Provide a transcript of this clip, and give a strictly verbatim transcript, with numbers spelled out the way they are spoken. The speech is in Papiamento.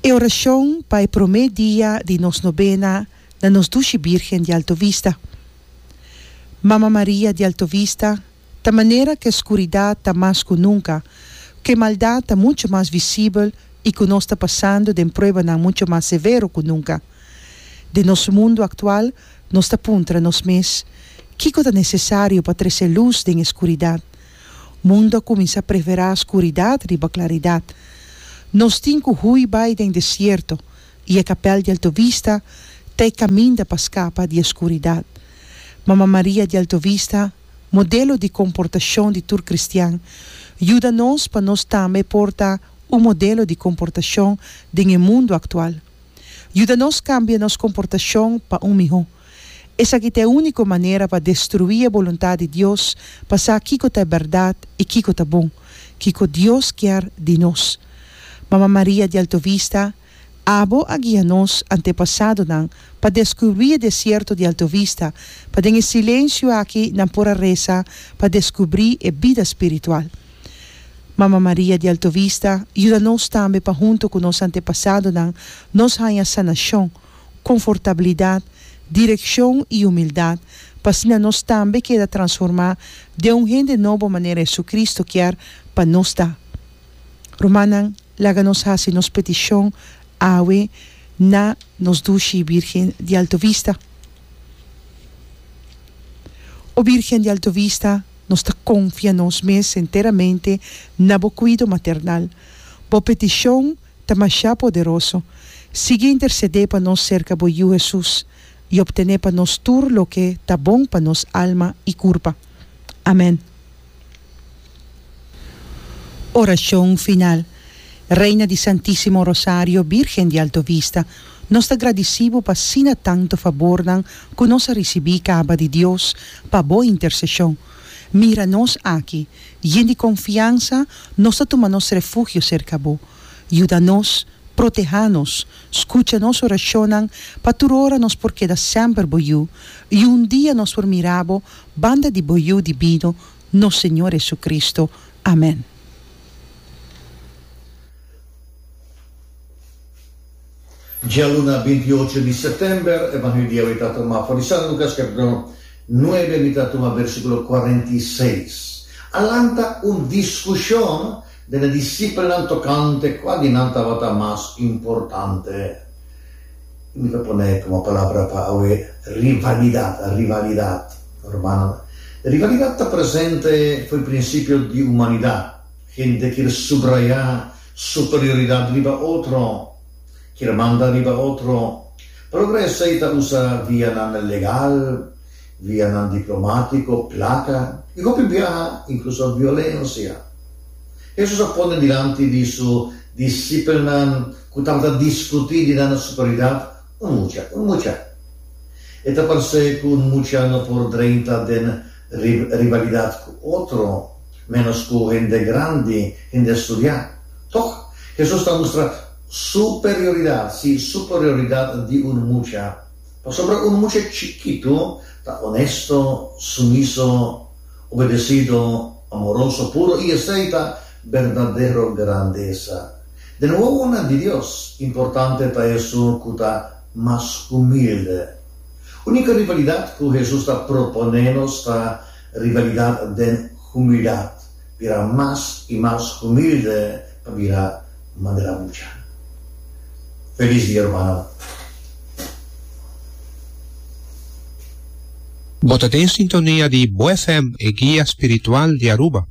E orashon pa e promé dia di nos nobena na nos dushi Birgen di Alto Vista. Mama Maria di Alto Vista, ta manera ku e skuridat ta mas ku nunka, ku e maldat ta muchu mas visibel i ku nos ta pasando den pruebanan muchu mas severo ku nunka. Den nos mundu aktual, nos ta puntra nos mes, kiko ta nesesario pa trese lus den e skuridat? Mundu a kuminsá preferá skuridat riba klaridat. Nos tin ku hui bai den desierto i e kapèl di Alto Vista ta e kaminda pa skapa di e skuridat. Mama Maria di Alto Vista, modelo di komportashon di tur kristian, yuda nos pa nos tambe por ta un modelo di komportashon den e mundu aktual. Yuda nos kambia nos komportashon pa un mihó. Esaki ta e úniko manera pa destruí e boluntat di Dios pa sa kiko ta e bèrdat i kiko ta bon, kiko Dios kier di nos. Mama Maria di Alto Vista, abo a guia nos antepasadonan pa deskubrí e desierto di Alto Vista, pa den e silensio aki nan por a resa pa deskubrí e bida spiritual. Mama Maria di Alto Vista, yuda nos tambe pa huntu ku nos antepasadonan nos haña sanashon, konfortabilidat, direkshon i humildat, pa asina nos tambe keda transformá den un hende nobo manera Jesucristo kier pa nos ta. Rumannan, laga nos hasi nos petishon awe na nos dushi Birgen di Alto Vista. O Birgen di Alto Vista, nos ta konfia nos mes enteramente na bo kuido maternal. Bo petishon ta masha poderoso. Sigui intersedé pa nos serka bo Yu Hesus i optené pa nos tur loke ta bon pa nos alma i kurpa. Amèn. Orashon final. Reina di Santísimo Rosario, Birgen di Alto Vista, nos ta gradisí bo pa asina tantu fabornan ku nos a risibí kaba di Dios pa bo interseshon. Mira nos aki, yen di konfiansa nos ta tuma nos refugio serka bo. Yuda nos, protehá nos, skucha nos orashonnan pa tur ora nos por keda semper bo yu i un dia nos por mira bo banda di bo Yu dibino, nos Señor Jesucristo. Amèn. Djaluna binti ocho di sèptèmber, Evangelio di awe ta tuma for di San Lukas kapítulo nuebe, mi ta tuma versíkulo kuarenta i seis. A lanta un diskushon den e disipelnan tokante kua di nan tabata mas importante. I mi ta pone komo palabra pa awe rivalidat, rivalidat. Rumannan, rivalidat ta presente for prinsipio di humanidat. Hende kier subrayá superioridat riba otro, kier manda riba otro. Pa logra esei ta usa vianan legal, vianan diplomátiko, plaka i hopi biaha inkluso violensia. Hesus a pone dilanti di su disipelnan ku tabata diskutí di nan superioridat un mucha, un mucha. E ta parse ku un mucha no por drenta den rivalidat ku otro, ménos ku hende grandi, hende studiá. Tòg, Hesus ta mustra superioridat, sí, superioridat di un mucha. Pasobra un mucha chikitu ta onesto, sumiso, obedesido, amoroso, puro, i esei ta berdadero grandesa. Den wowonan di Dios, importante ta esun ku ta mas humilde. Úniko rivalidat ku Hesus ta proponé nos ta rivalidat den humildat, bira mas i mas humilde pa bira manera mucha. Felis dia, rumannan. Bo ta den sintonia di Bo F M, e guia spiritual di Aruba.